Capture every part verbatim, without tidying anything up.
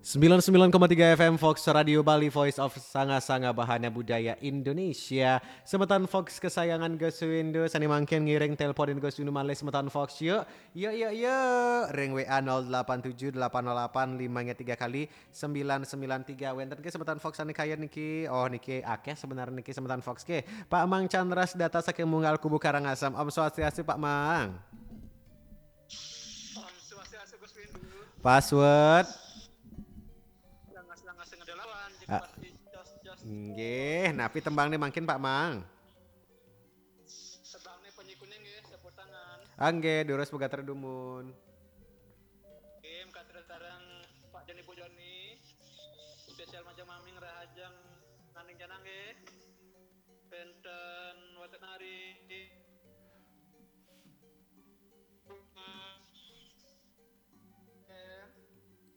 Sembilan sembilan koma tiga F M Fox Radio Bali, Voice of Sanga-Sanga, Bahana Budaya Indonesia. Semeton Fox kesayangan Gus Windu, sane mangkin ngiring teleponin Gus Windu malih semeton Fox, yuk. Yuk, yuk, yuk. Ring W A nol delapan tujuh delapan nol delapan lima tiga kali sembilan sembilan tiga. Wenten ke semeton Fox sane kayun niki? Oh, niki akeh sebenarnya niki semeton Fox ke. Pak Mang Chandras data saking Munggal Kubu Karangasem. Om Swastiastu, Pak Mang. Om Swastiastu, Gus Windu. Password. Langas-langas sing ada lawan, jika Ah. Pasti jos-jos. Nggih, napi tembangne mangkin, Pak Mang? Tembangne penyikune nggih, sepur tangan. Ah, nggih, durus pegater dumun. Nggih, mekater sareng Pak Joni Bu Joni. Spesial majeng maming rahajeng nanding janang nggih. Penten wonten ari.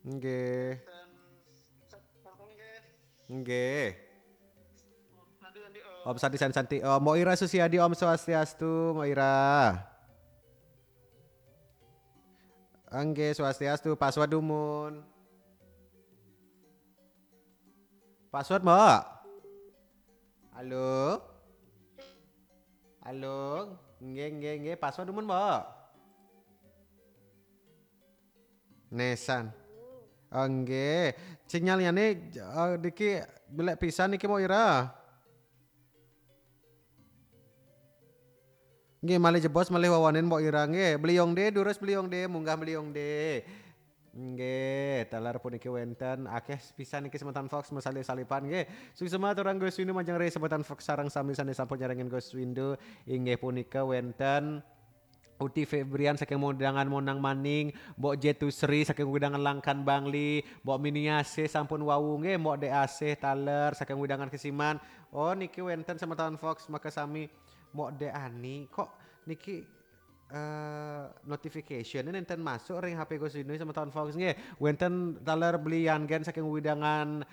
Nggih. Nggih. Om Santi Santi Santi. Oh, Mbok Ira Susiadi, Om Swastiastu, Mbok Ira. Nggih, Swastiastu, password dumun. Password, Mbok? Halo? Halo? Nggih, nggih, nggih, password dumun, Mbok? Nesan. Oh, nggih. Sinyal liyane, eh, niki belek pisan niki, Mbok Ira. Nggih, malih jebos, malih wawanen, Mbok Ira nggih. Beliung de, durus Beliung de, munggah Beliung de. Nggih, taler puniki wenten akeh pisan niki semeton Fox, mesalip-salipan nggih. Suksma aturang Gus Windu majeng ring semeton Fox sareng sami sane sampun nyarengin Gus Windu. Inggih punika wenten Uti Febrian saking wewidangan Monang Maning, Mbok Jetusri saking wewidangan Langkan Bangli, Mbok Miniase sampun wau nggih, Mbok Deasih taler saking wewidangan Kesiman. Oh, niki wenten semeton Fox makasami. Mbok De Ani, kok niki, eh, notification nenten masuk ring H P Gus Windu semeton Fox nggih. Wenten taler Beli Yangen saking wewidangan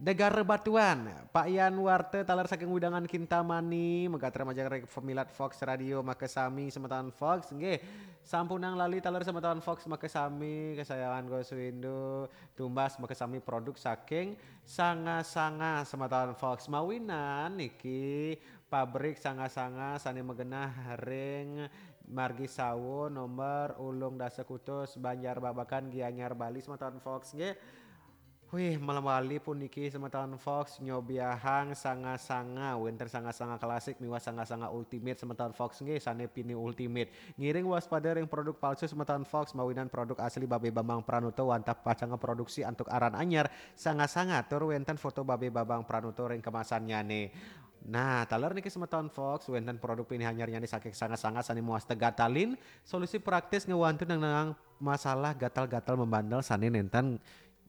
Negara Batuan, Pak Yan Warte taler saking wewidangan Kintamani, megater majeng ring pemilat Fox Radio makasami semeton Fox nggih. Sampunang lali taler semeton Fox makasami, kesayangan Gus Windu, tumbas makasami produk saking Sanga-Sanga semeton Fox. Mawinan niki pabrik Sanga-Sanga sane magenah ring Margi Sawo nomor ulung dasa kutus Banjar Babakan Gianyar Bali semeton Fox nggih. Wih, malam wali puniki semeton Fox nyobiahang sanga-sanga, wenten sanga-sanga klasik miwah sanga-sanga ultimate semeton Fox nggih sane pini ultimate. Ngiring waspada ring produk palsu semeton Fox mawinan produk asli Babe Bambang Pranoto wantah pacang produksi antuk aran anyar sanga-sanga tur wenten foto Babe Bambang Pranoto ring kemasannyane. Nah, taler niki semeton Fox wenten produk pini anyarnyane saking sanga-sanga sane muas tegatalin solusi praktis ngewantu nang, nang masalah gatal-gatal membandel sane nenten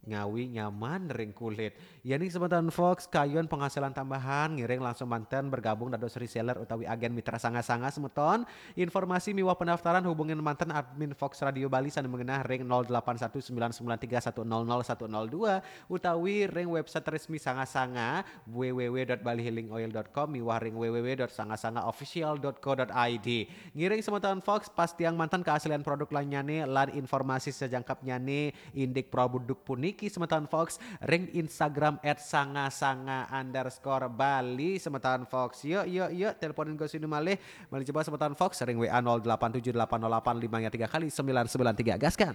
ngawi nyaman ring kulit. Yening semeton Fox kayun penghasilan tambahan, ngiring langsung manten bergabung dados reseller utawi agen mitra sanga-sanga semeton. Informasi miwah pendaftaran hubungin manten admin Fox Radio Bali sane mengenah ring nol delapan satu sembilan sembilan tiga satu nol nol satu nol dua utawi ring website resmi sanga-sanga w w w dot bali healing oil dot com miwah ring w w w dot sanga sanga official dot co dot i d. Ngiring semeton Fox pastiang manten keaslian produk lanyane lan informasi sajangkepnyane indik produk puniki semeton Fox ring Instagram at sanga sanga underscore bali semeton Fox. Yuk, yuk, yuk, teleponin Gus Windu malih. Malih jebos semeton Fox ring W A nol delapan tujuh delapan nol delapan lima tiga kali sembilan sembilan tiga. Gaskan.